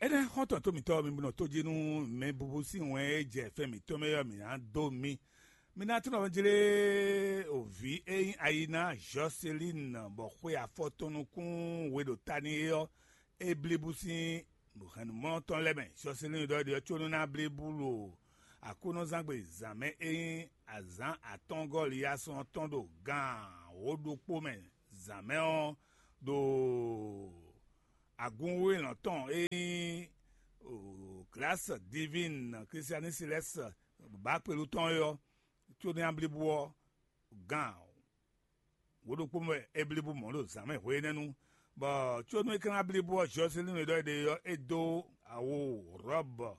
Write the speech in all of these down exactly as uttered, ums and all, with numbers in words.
Énɛ́ xɔ́ntɔn tó mǐtɔn mi nɔ tó jí nú mɛ bubu sín wɛn e jɛ fɛn mǐtɔn mɛ ɔ́, mǐ ná dó mi. Mi ná tunɔ jlé òvǐ e nyí ayi ná Jɔselín, bɔ xwe afɔ tɔn nukún we ɖo ta n'i é ɔ́, é blíbú sín hɛ̌nnumɔ tɔn lɛ́ɛ mɛ. Jɔselín ɖɔ ɖiɖɔ có nú ná blíbú ɖo Aklúnɔzángbe zǎn mɛ e nyí azǎn atɔ́ɔ́ngɔ́ Liyasɔn tɔn ɖo gan wǒ ɖokpó mɛ zǎn mɛ ɔ́, ɖo agunwéwélɔn tɔn e nyí Glace Divine Christianistes bǎkpelu tɔn é ɔ́, có nú nya blíbú ɔ́, gan wǒ ɖokpó mɛ é blíbú mɔ̌ ɖo zǎn mɛ hwe énɛ́ nu, bɔ có nú é ka ná blíbú ɔ́, Jɔselínu e ɖɔ é ɖe ɔ́, é dó awu rɔ̌bɔ,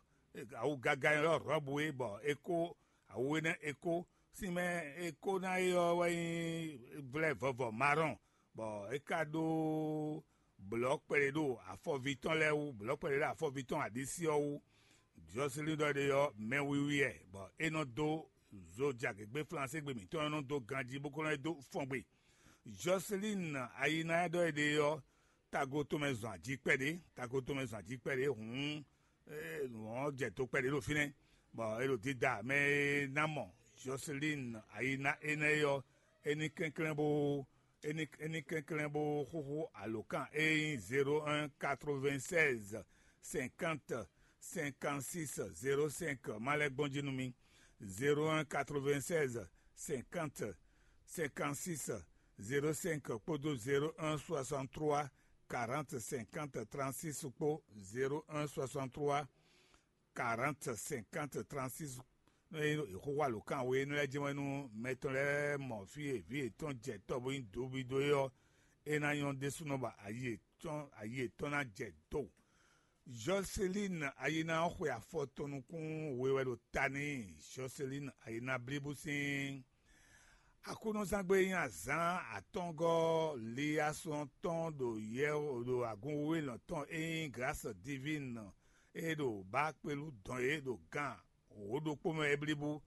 awu gaga e nyɔ́ ɖɔ rɔ̌bɔ é, bɔ é kó awu énɛ́ é kó sín mɛ é kó ná é ɔ́ wɛ nyí vlɛ́ vɔvɔ marɔn, bɔ é ka ɖó blɔ̌ kpɛɖé ɖo afɔví tɔn lɛ́ɛ wú, blɔ̌ kpɛɖé ɖo afɔví tɔn aɖisí ɔ́ wú. Jɔselínu ɖɔ ɖe ɔ́, mɛ wiwi wɛ, bɔ é nɔ dó zo jagěgbé Flansé gbe mǐtɔn ɔ́ nɔ dó ganjí bó ko nɔ é dó fɔn gbe. Jɔselínu ayi ná ɛ ɖɔ é ɖe ɔ́, tago tɔn mɛ zɔn ají kpɛɖé, tago tɔn mɛ zɔn ají kpɛɖé hǔn, nǔ ɔ́ jɛ to kpɛɖé ɖo fínɛ́, bɔ é ɖo dída mɛ e ná mɔ Jɔselínu ayi ná énɛ́ é ɔ́, é ní kɛnklɛ́n bó é ní é ní kɛnklɛ́n bó xúxú alǒkan e nyí zéro un quatre-vingt-seize cinquante cinquante-six zéro cinq ma lɛ́ gbɔn jí nú mì. Zéro un quatre-vingt-seize cinquante cinquante-six zéro cinq kpódó zéro un soixante-trois quarante cinquante trente-six kpó zéro un soixante-trois quarante cinquante trente-six. Nú é xóxó alǒkan we énɛ́ lɛ́ɛ jɛ́n wɛ nú mɛ tɔn lɛ́ɛ mɔ fí e vǐ yětɔn jɛ tɔ bó nyí dobido é ɔ́, é ná nyɔ́ ɖésúnɔ bɔ ayi yětɔn ayi yětɔn ná jɛ do. Jɔselín ayina ɔ́ xwe afɔ tɔn nukún we wɛ ɖo ta n'i. Jɔselín ayina blíbú sín Aklúnɔzángbe e nyí azǎn atɔ́ngɔ́ Liyasɔn tɔn ɖo yɛ ɖo agun wíwélɔn tɔn e nyí Glǎs Divín e ɖo Baakpelu dɔn é ɖo gan wǒ ɖokpó mɛ é blíbú,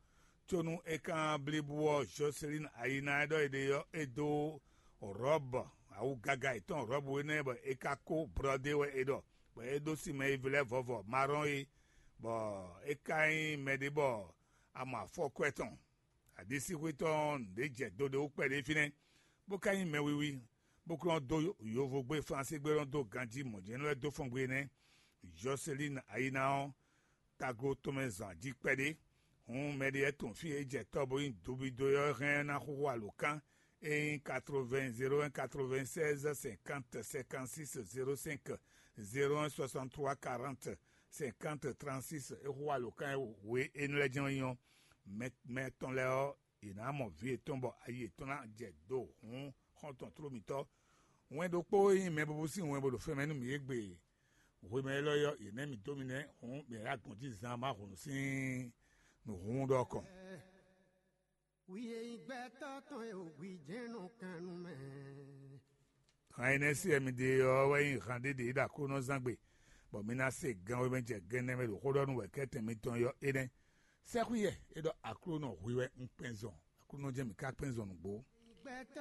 có nú é ka blíbú ɔ́, Jɔselín ayina e ɖɔ è ɖe ɔ́, é dó Rɔ̌b awu gaga yětɔn Rɔ̌b énɛ́ bɔ é ka kó blɔ́ ɖé wɛ é ɖɔ, bɔ é ɖó sinmɛ e vlɛ́ vɔvɔ Marɔn é, bɔ é ka nyí mɛɖé bɔ a mɔ afɔkwɛ́ tɔn. Aɖisíxwé tɔn ɔ́, nǔɖé jɛ do ɖé wú kpɛɖé fínɛ́, bó ka nyí mɛ wiwi, bó kplɔ́n dó yovogbé Flansígbé lɔn dó ganjí mɔ̌ jɛ́n lɛ́ɛ dó fɔn gbe nɛ́. Jɔselín ayina ɔ́, tago tɔn mɛ zɔn ají kpɛɖé. Hǔn mɛɖé lɛ́ɛ tunwun fí e é jɛ tɔ́ bó nyí dobido ɔ́ hɛn ná xúxú alǒkan e nyí quatre-vingts zéro un quatre-vingt-seize cinquante cinquante-six zéro cinq zéro un soixante-trois quarante cinquante trente-six é xúxú alǒkan e we énɛ́ lɛ́ɛ jɛ́n é nyí ɔ́, mɛ mɛ tɔn lɛ́ɛ ɔ́, yě ná mɔ vǐ yětɔn bɔ ayi yětɔn ná jɛ do hǔn xɔ́ntɔn tló mitɔ́. Wɛn ɖokpó e nyí mɛ bubu sín wɛn bo ɖo fɛn mɛ nú mǐ égbé hwemɛ élɔ́ ɔ́, yě nɛ́ mì dó mi nɛ́ hǔn mǐ ná gbɔn jí zan Mawu hǔn sín nǔhúnɖɔ kɔn. Wi e nyí gbɛtɔ́ tɔn e wǒ gbi jɛ́n nɔ kan nú mɛ. Han énɛ́ sí wɛ mi ɖe ɔ́ wɛ nyí han ɖé ɖě ɖo Aklúnɔzángbe, bɔ mi ná se gan e mɛ jɛ gɛn nɛ́ mɛ ɖo xó ɖɔ nú wɛ̌kɛ́tɛn mitɔn ɔ́ énɛ́. Sɛ́xwí yɛ é ɖɔ Aklúnɔ hwi wɛ un kpɛn zɔn, Aklúnɔ jɛ́n mǐ ká kpɛn zɔn nǔgbó.